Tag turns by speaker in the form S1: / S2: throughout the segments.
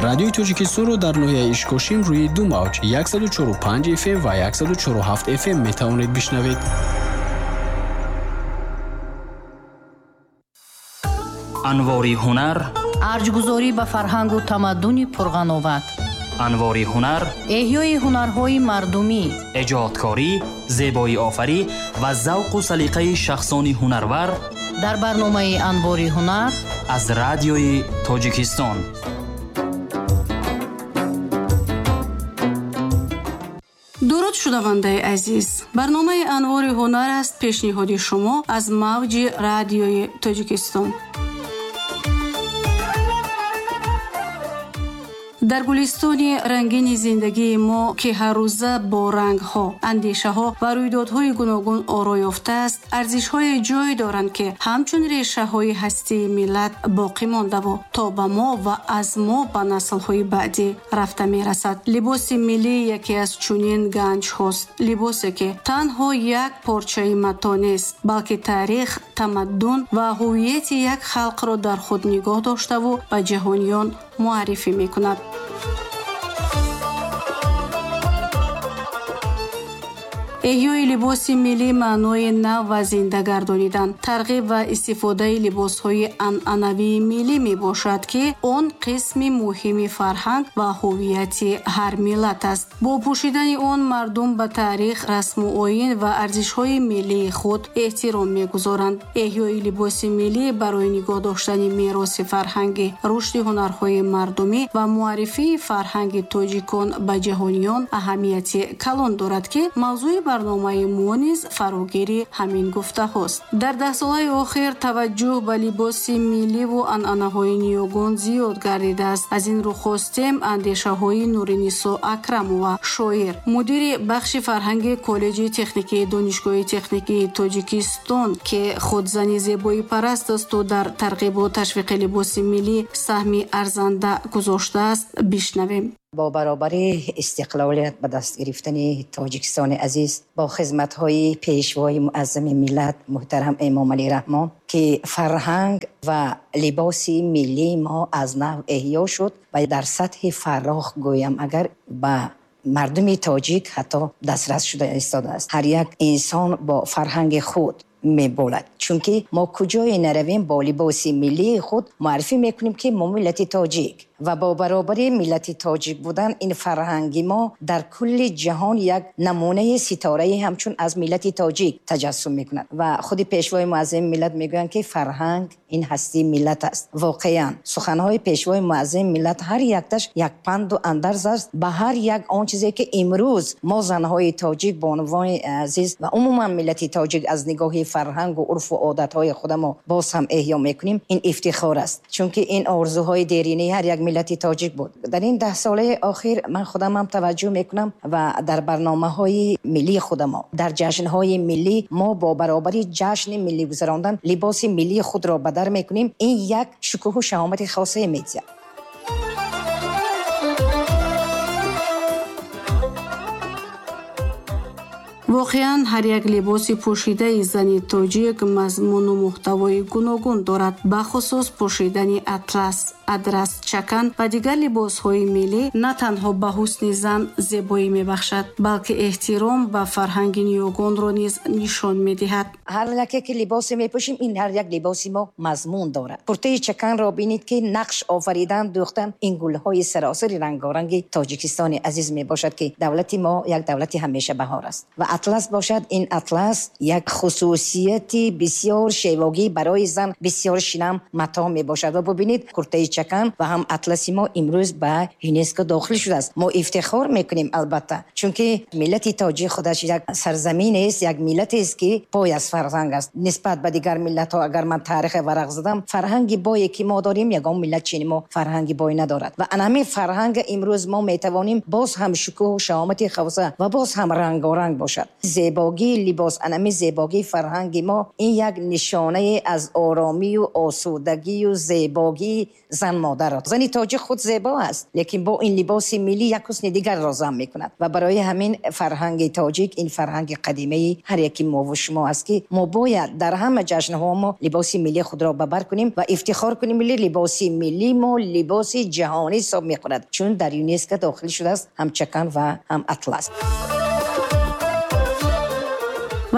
S1: Радиои Тоҷикистонро дар ноҳияи Ишкошим рӯи ду мавҷ 104,5 FM ва 104,7 FM метавонед бишнавед.
S2: Анвори ҳунар,
S3: арҷгузорӣ ба фарҳангу тамаддуни пурғановат,
S2: анвори ҳунар,
S3: эҳёи ҳунарҳои мардумӣ,
S2: эҷодкорӣ, зебоиофарӣ ва завқу салиқаи шахсони ҳунарвар
S3: дар барномаи Анвори ҳунар
S2: аз Радиои Тоҷикистон.
S4: Дуруд, шунавандаи азиз! Барномаи Анвори ҳунар аст, пешниҳоди шумо аз мавҷи Радиои Тоҷикистон. Дар гулистони рангини зиндагии мо, ки ҳаррӯза бо рангҳо, андешаҳо ва рӯйдодҳои гуногун оро ёфтааст, арзишҳое ҷой доранд, ки ҳамчун решаҳои ҳастии миллат боқӣ мондаву то ба мо ва аз мо ба наслҳои баъдӣ рафта мерасад. Либоси миллӣ яке аз чунин ганҷҳост. Либосе, ки танҳо як порчаи матоъ нест, балки таърих, тамаддун ва ҳуввияти як халқро дар худ нигоҳ доштаву ба ҷаҳониён муаррифӣ мекунад. Эҳёи либоси миллӣ маънои нав ва зинда гардонидан, тарғиб ва истифодаи либосҳои анъанавии миллӣ мебошад, ки он қисми муҳими фарҳанг ва ҳуввияти ҳар миллат аст. Бо пӯшидани он мардум ба таърих, расму оин ва арзишҳои миллии худ эҳтиром мегузоранд. Эҳёи либоси миллӣ барои нигоҳ доштани мероси фарҳангӣ, рушди ҳунарҳои мардумӣ ва муаррифии фарҳанги тоҷикон ба ҷаҳониён аҳамияти калон дорад, ки мавзӯи барномаи мо низ фарогири ҳамин гуфтаҳост. Дар даҳсолаи охир таваҷҷӯҳ ба либоси милливу анъанаҳои ниёгон зиёд гардидааст. Аз ин рӯ хостем андешаҳои Нуринисо Акрамова, шоир, мудири бахши фарҳанги Коллеҷи техникии Донишгоҳи техникии Тоҷикистон, ки худ зани зебоипараст асту дар тарғибу ташвиқи либоси миллӣ саҳми арзанда гузоштааст, бишнавем.
S5: Бо баробари истиқлолият ба даст гирифтани Тоҷикистони азиз, бо хизматҳои пешвои муаззами миллат муҳтарам Эмомалӣ Раҳмон, ки фарҳанг ва либоси миллии мо аз нав эҳё шуд ва дар сатҳи фарох, гӯям агар, ба мардуми тоҷик ҳатто дастрас шуда истодааст. Ҳар як инсон бо фарҳанги худ меболад, чунки мо куҷое наравем, бо либоси миллии худ муаррифӣ мекунем, ки мо миллати тоҷик, ва бо баробари миллати тоҷик будан ин фарҳанги мо дар кулли ҷаҳон як намунаи ситораи ҳамчун аз миллати тоҷик таҷассум мекунад. Ва худи пешвои муаззами миллат мегӯянд, ки фарҳанг ин ҳастии миллат аст. Воқеан, суханҳои пешвои муаззами миллат ҳар якташ як панду андарз аст ба ҳар як он чизе, ки имрӯз мо занҳои тоҷик, бонувони азиз ва умуман миллати тоҷик аз нигоҳи фарҳангу урфу одатҳои худамо боз ҳам эҳё мекунем. Ин ифтихор аст, чунки ин орзуҳои деринаи ҳар як миллати тоҷик буд. Дар ин даҳсолаи охир ман худамам таваҷҷӯҳ мекунам ва дар барномаҳои миллии худамо, дар ҷашнҳои миллӣ мо бо баробари ҷашни миллӣ гузарондан либоси миллии худро ба дар мекунем. Ин як шукӯҳу шаҳомати хосае медиҳад.
S4: Воқеан, ҳар як либоси пӯшидаи зани тоҷик мазмуну муҳтавои гуногун дорад. Бахусус пӯшидани атлас, адрас, чакан ва дигар либосҳои миллӣ на танҳо ба ҳусни зан зебоӣ мебахшад, балки эҳтиром ба фарҳанги ниёгонро низ нишон медиҳад.
S5: Ҳар яке ки либосе мепӯшем, ин ҳар як либоси мо мазмун дорад. Куртаи чаканро бинед, ки нақш офаридан, дӯхтан, ин гулҳои саросари рангоранги Тоҷикистони азиз мебошад, ки давлати мо як давлати ҳамеша баҳор аст. Ва атлас бошад, ин атлас як хусусияти бисёр шевогӣ барои зан, бисёр шинам матоъ мебошад. Ва бубинед, куртаи чакан ва ҳам атласи мо имрӯз ба ЮНЕСКО дохил шудааст. Мо ифтихор мекунем, албатта, чунки миллати тоҷик худаш як сарзаминест, як миллатест, ки пой аз фарҳанг аст. Нисбат ба дигар миллатҳо, агар ман таърихе варақ задам, фарҳанги бое ки мо дорем, ягон миллат чини мо фарҳанги бой надорад. Ва ана ҳамин фарҳанг имрӯз мо метавонем боз ҳам шукӯҳу шаҳомати хоса ва боз ҳам рангоранг бошад. Зебогии либос, ана ҳамин зебогии фарҳанги мо, ин як нишонае аз оромию осудагию зебогии Зан модарро. Зани тоҷик худ зебо аст, лекин бо ин либоси миллӣ як ҳусни дигарро зам мекунад. Ва барои ҳамин фарҳанги тоҷик ин фарҳанги қадимаи ҳар яки мову шумо аст, ки мо бояд дар ҳама ҷашнҳо мо либоси миллии худро ба бар кунем ва ифтихор кунем. Либоси миллии мо либоси ҷаҳонӣ ҳисоб мехӯрад, чун дар ЮНЕСКО дохил шудааст ҳам чакан ва ҳам атлас.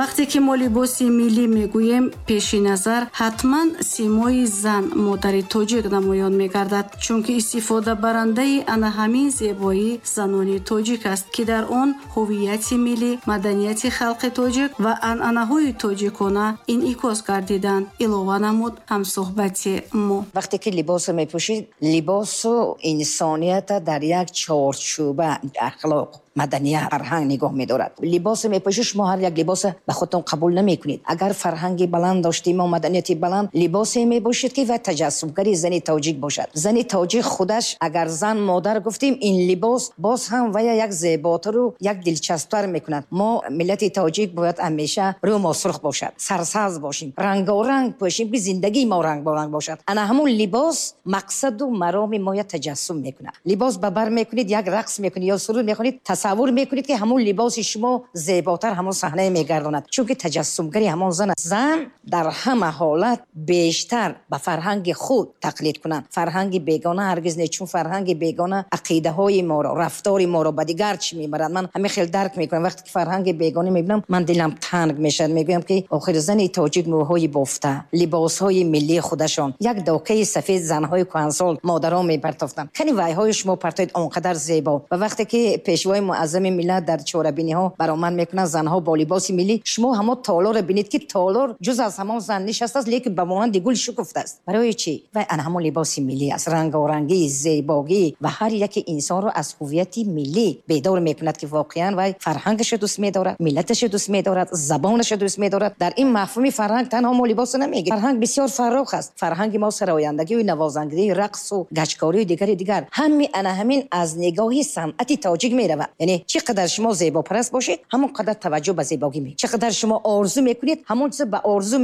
S4: Вақте ки мо либоси миллӣ мегӯем, пеши назар ҳатман симои зан, модари тоҷик намоён мегардад, чунки истифодабарандаи ана ҳамин зебоӣ занони тоҷик аст, ки дар он ҳуввияти миллӣ, маданияти халқи тоҷик ва анъанаҳои тоҷикона инъикос гардиданд, илова намуд ҳамсӯҳбати мо.
S5: Вақте ки либосро мепӯшид, либосу инсонията дар як чорчӯба ахлоқ, маданият, фарҳанг нигоҳ медорад. Либосро мепӯшед, шумо ҳар як либосро ба худтон қабул намекунед. Агар фарҳанги баланд доштем ва маданияти баланд, либосе мебошед, ки ва таҷассумгари зани тоҷик бошад. Зани тоҷик худаш, агар зан модар гуфтем, ин либос боз ҳам вая як зеботару як дилчасптар мекунад. Мо миллати тоҷик бояд ҳамеша рӯ мо сурх бошад, сарсабз бошем, рангоранг пӯшем, ки зиндагии мо рангоранг бошад. Ана ҳамун либос мақсаду мароми моя таҷассум мекунад. Либос ба бар мекунед, як рақс мекунед ё суруд мехонед, тасаввур мекунед, ки ҳамун либоси шумо зеботар ҳамон саҳнае мегардонад, чунки таҷассумгари ҳамон зан аст. Зан дар ҳама ҳолат бештар ба фарҳанги худ тақлид кунад, фарҳанги бегона ҳаргиз не, чун фарҳанги бегона ақидаҳои моро, рафтори моро ба дигар чӣ мебарад. Ман ҳамин хел дарк мекунам. Вақте ки фарҳанги бегона мебинам, ман дилам танг мешавад. Мегӯям, ки охир зани тоҷик мӯҳои бофта, либосҳои миллии худашон, як докаи сафед занҳои кӯҳансол, модарон мепартофтанд. Кани вайҳои шумо партоед, он қадар зебо. Ва вақте ки пешвои муаззами миллат дар чорабиниҳо баромад мекунанд, занҳо бо либоси миллӣ, шумо ҳамон толорро бинед, ки толор ҷуз аз ҳамон зан нишастааст, лекин ба монанди гул шукуфтааст. Барои чӣ? Вай ана ҳамон либоси миллӣ аст, рангорангӣ, зебогӣ ва ҳар яке инсонро аз ҳуввияти миллӣ бедор мекунад, ки воқеан вай фарҳангашро дӯст медорад, миллаташро дӯст медорад, забонашро дӯст медорад. Дар ин мафҳуми фарҳанг танҳо мо либосро намегирем. Фарҳанг бисёр фарох аст. Фарҳанги мо сарояндагию навозандагию рақсу гачкорию дигари дигар, ҳами ана ҳамин аз нигоҳи санъати тоҷик меравад. Яъне чӣ қадар шумо зебопараст бошед, ҳамон қадар таваҷҷӯҳ ба зебогӣ ме, чӣ қадар шумо орзу мекунед, ҳамон чизо ба орзу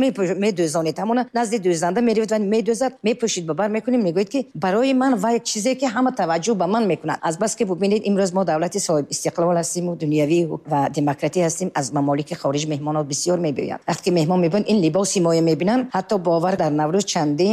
S5: медӯзонед, ҳамона назди дӯзанда меравед ва медӯзад, мепӯшид, ба бар мекунед, мегӯед, ки барои ман ва як чизе, ки ҳама таваҷҷӯҳ ба ман мекунад. Аз бас ки бубинед, имрӯз мо давлати соҳиб истиқлол ҳастиму дунявӣ ва демократӣ ҳастем, аз мамолики хориҷ меҳмонот бисёр мебиёянд. Вақте ки меҳмон мебиёянд, ин либоси моя мебинанд, ҳатто бовар, дар Наврӯз чандин